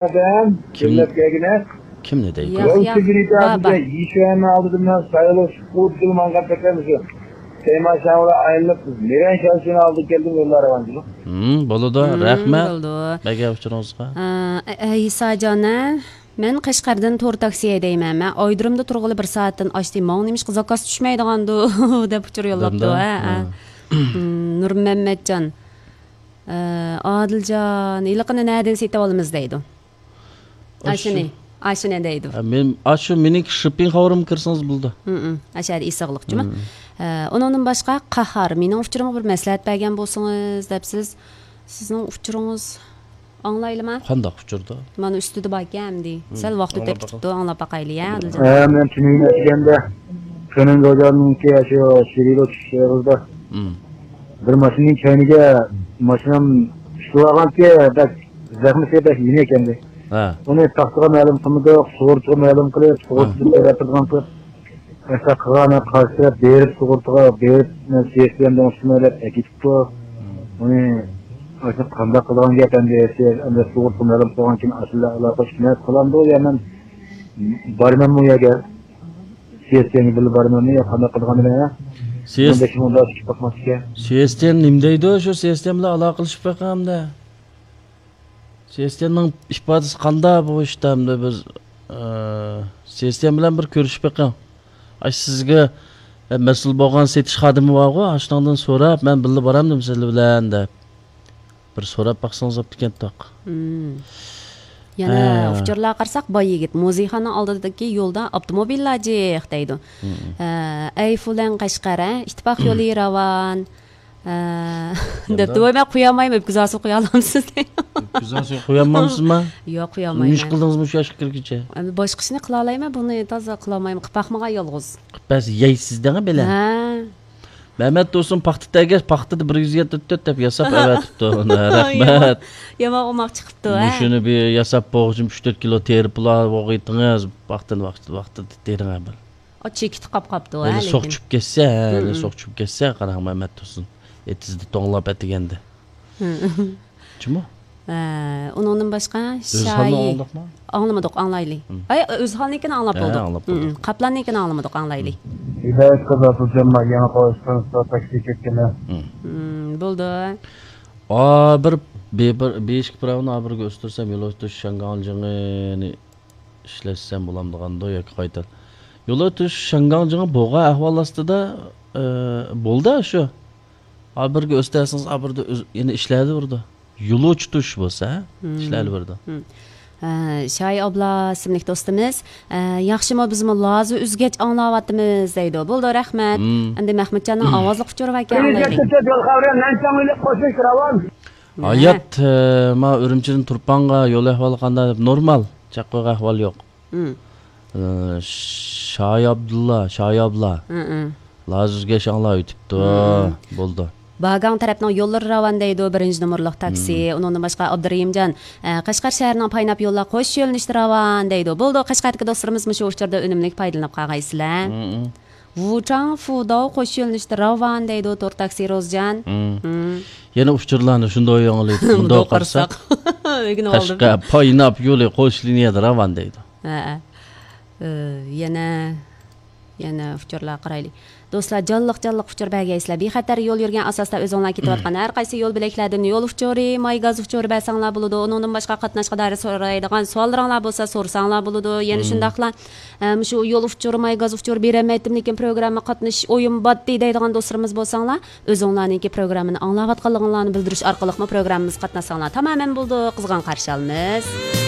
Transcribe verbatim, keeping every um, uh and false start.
ئادەم كىم، جۈملەپ كەلگىنە. كىمنى دەيدۇ؟ ياق، ياق، بابا. يىشۇەننىڭ ئالدىدا مەن سايلىشىپ قۇرۇلدۇم ماڭغان پەكەمسۇ. تەيما شاڭلا ئايلىنىپ، مىرەن شاۋشىنىڭ ئالدىغا كەلدىم، يوللار راۋانچىلىق. ھىم، بولىدۇ، ھىم، رەھمەت. بولىدۇ. بەگە ئۇچۇرىڭىزغا. ئە، ئە، ئىساجان، ھە؟ مەن قەشقەردىن تور تاكسى ھەيدەيمەن. مەن ئايرودرومدا تۇرغىلى بىر سائەتتىن ئاشتى. ماڭا نېمىشقا زاكاز چۈشمەيدىغاندۇ؟ دەپ ئۇچۇر يوللاپتۇ، دەمدە؟ ھە، ھە. ھە. ھىم، نۇرمەممەتجان. ئە، ئادىلجان، ھېلىقىنى نەدىن سېتىۋالىمىز دەيدۇ. ئاشۇ. ئاشۇنى، ئاشۇنى دەيدۇ. ھە، مەن، ئاشۇ مېنىڭكى شىپپىڭ خاۋىرىمغا كىرسىڭىز بولىدۇ. ھىم، ھىم. ئاشۇ يەردە ئېسىقلىق جۇمۇ. ھىم. ئە، ئۇنىڭدىن باشقا قاھار مېنىڭ ئۇچۇرۇمغا بىر مەسلىھەت بەرگەن بولسىڭىز دەپسىز. سىزنىڭ ئۇچۇرىڭىز ئاڭلايلىما؟ قانداق ئۇچۇردا؟ مانا ئۈستىدە باركەن ئەمدى. ھىم، سەل ۋاقىت ئۆتۈپ ئاڭلاپ باقاي. كېتىپتۇ، ئاڭلاپ باقايلى، يا، ئادىلجان. ھە، مەن تۈنۈگۈن ئەتىگەندە تۈنۈگۈن روجانىڭكى شۇ شىرىلو چۈشۈش ئېغىزدا. ھىم. بىر ماشىنىنىڭ كەينىگە ماشىنام چۈشۈۋالغانكى، بەك زەخمىسى بەك يېنىك ئىكەندى. ھە. ئۇنى تاختىغا مەلۇم قىلمىدۇق، سۇغۇرتىغا مەلۇم قىلىپ، ھە. سۇغۇرتا تەرەپ قىلغان قىلىپ، مەسىلەن، قىلغان قارشى تەرەپ بېرىپ، سۇغۇرتىغا بېرىپ، مەن سىيەس بىلەن دېڭىزچىمەن دەپ ئەكېتىپتۇ. ھىم. ئۇنى ئاشۇ قانداق قىلىدىغان گەپ ئەمدى، سىيەس ئەمدى سۇغۇرتىغا مەلۇم قىلغان كېيىن ئاشۇنداق ئالاقە قىلىپ قالامدۇ يا مەن بارىمەنمۇ يا گەپ؟ سىيەستىيەنگە بىللە بارىمەنمۇ يا قانداق قىلىدىغاننى بىلمەيمەن. سىيەس-، مۇنداق شۇنداق چىقىپ باقماس ئىكەن. سىيەستىيەن نېمە دەيدۇ؟ شۇ سىيەستىيەن بىلەن ئالاقىلىشىپ بېقىڭ ئەمدى. سىيەستىيەننىڭ ئىپادىسى قانداق بۇ ئىشتا ئەمدى بىز، ئە، سىيەستىيەن بىلەن بىر كۆرۈشۈپ بېقىڭ. ئاش سىزگە، ئە، مەسئۇل بولغان سېتىش خادىمى بارغۇ، ئاشۇنىڭدىن سوراپ، مەن بىللە بارامدىم سىلەر بىلەن دەپ. بىر سوراپ باقسىڭىز بوپتىكەن توق. مم. يەنە ھە. ئۇچۇرلارغا قارىساق، باي يىگىت، مۇزېيخانىنىڭ ئالدىدىكى يولدا ئاپتوموبىللار جىق دەيدۇ. مم. ھە، ئەي فۇلەن قەشقەر، ھە؟ ئىتتىپاق يولى راۋان. ھە. دەپتۇ، ۋاي، مەن قويالمايمەن، ئۆپكە زاسى قويالامسىز دەيدۇ. ئۆپكە زاسى قويالمامسىزما؟ ياق، قويالمايمەن. نېمە ئىش قىلدىڭىز مۇشۇ ياشقا كىرگۈچە؟ ئەمدى باشقا ئىشنى قىلالايمەن، بۇنى تازا قىلالمايمەن، قىلىپ باقمىغان يالغۇز. قىلىپ بەرسە يەيسىز دەڭە بىلە. ھە. مەمەت تۇرسۇن پاختا تەگەش، پاختىدا بىر يۈز يەتتە تۆت دەپ ياساپ ئەۋەتىپتۇ. رەھمەت. يامان، يامان ئوماق چىقىپتۇ، ھە؟ مۇشۇنى بىر ياساپ بوغۇچۇم ئۈچ تۆت كىلو تېرىپ بولغىيتىڭىز، ۋاقتىنى ۋاقتىدا تېرىڭە بىر. ئۇ چېكىتى قاپ قاپتۇ، ھە، ھېلى سوق لېكىن. چۈشۈپ كەتسە، ھە، ھېلى سوق چۈشۈپ كەتسە، قاراڭ مەمەت تۇرسۇن. ئېتىزدا توڭلاپ ئەتىگەندە. جۇمۇ؟ ھە، ئۇنىڭدىن باشقا ئۆزھالنى شايى ئاڭلىدۇقمۇ؟ ئاڭلىمىدۇق، ئاڭلايلى. ھىم. ئاي، ئۆزھالنىڭكىنى ئاڭلاپ ھە، بولدۇق. ئاڭلاپ بولدۇق. ھىم، ھىم. قاپلاننىڭكىنى ئاڭلىمىدۇق، ئاڭلايلى. ھىم. ھىدايەت قىز ئابدۇجامال يېڭى قوشتىن تور تاكسى كەتكەن. ھىم. ھىم، بولدى. ئا، بىر، بىر، بىر، بىر ئىككى پىراۋىنى ئا بىرگە ئۆستۈرسەم، يولۇشتۇرۇش شاڭگاڭجىڭىنى ئىشلەتسەم بولامدىغاندۇ ياكى قايتا؟ يولۇشتۇرۇش شاڭگاڭجىڭى بولغان ئەھۋال ئاستىدا، ئە، بولدى شۇ. ئا بىرگە ئۆستۈرسىڭىز، ئا بىردە ئۆز-، يەنە ئىشلەۋېرىدۇ. يولۇچى تۇش بولسا، ھە؟ مم. ئىشلەۋېرىدۇ. مم. ھە، شاي ئابلا ئىسىملىك دوستىمىز، ھە، ياخشىمۇ، بىزمۇ لازا ئۈزگەچ ئاڭلاۋاتىمىز دەيدۇ. بولدى، رەھمەت. مم. ئەمدى مەھمۇتجاننىڭ ئاۋازلىق ئۇچۇرى باركەن، ئاڭلايلى. ھە. ھايات، ھە، ما ئۈرۈمچىدىن تۇرپانغا يول ئەھۋالى قانداق دەپ، نورمال، چاققىغا ئەھۋال يوق. مم. ئە، شاي ئابدۇللا، شاي ئابلا. مم، مم. لازا ئۈزگەچ ئاڭلاۋېتىپتۇ. مم. بولدى. باگاڭ تەرەپنىڭ يوللىرى راۋان دەيدۇ، بىرىنچى نومۇرلۇق تاكسى. مم. ئۇنىڭدىن باشقا ئابدۇرېھىمجان، ئە، قەشقەر شەھىرىنىڭ پايناپ يوللار قوش يۆنىلىشتە راۋان دەيدۇ. بولدى، قەشقەردىكى دوستلىرىمىز مۇشۇ ئۇچۇردا ئۈنۈملۈك پايدىلىنىپ قالغايسىلەر. مم، مم. ۋۇچاڭ فۇداۋ قوش يۆنىلىشتە راۋان دەيدۇ، تور تاكسى روزجان. مم. مم. يەنە ئۇچۇرلارنى شۇنداق ياڭلىتىپ، مۇنداق قارىساق. ئۆگىنىۋالدىم. قەشقەر پايناپ يولى قوش لىنىيەدە راۋان دەيدۇ. ھە، ھە. ئە، يەنە، يەنە ئۇچۇرلارغا قارايلى. دوستلار، جانلىق، جانلىق ئۇچۇر بەرگەيسىلەر. بىخەتەر يول يۈرگەن ئاساستا ئۆزۈڭلار كېتىۋاتقان ھەر قايسى يول بۆلەكلەردىن يول ئۇچۇرى، ماي گاز ئۇچۇرى بەرسەڭلار بولىدۇ. ئۇنىڭدىن باشقا قاتناشقا دائىر سورايدىغان سوئاللىرىڭلار بولسا سورىساڭلار بولىدۇ. يەنە شۇنداقلا، ئە، مۇشۇ يول ئۇچۇرى، ماي گاز ئۇچۇرى بېرەلمەيتتىم، لېكىن پروگرامما قاتنىشىش ئويۇم باتتى دەيدىغان دوستلىرىمىز بولساڭلار، ئۆزۈڭلارنىڭكى پروگراممىنى ئاڭلاۋاتقانلىقىڭلارنى بىلدۈرۈش ئارقىلىقمۇ پروگراممىمىزغا قاتناشساڭلار تامامەن بولىدۇ. قىزغىن قارشى ئالىمىز.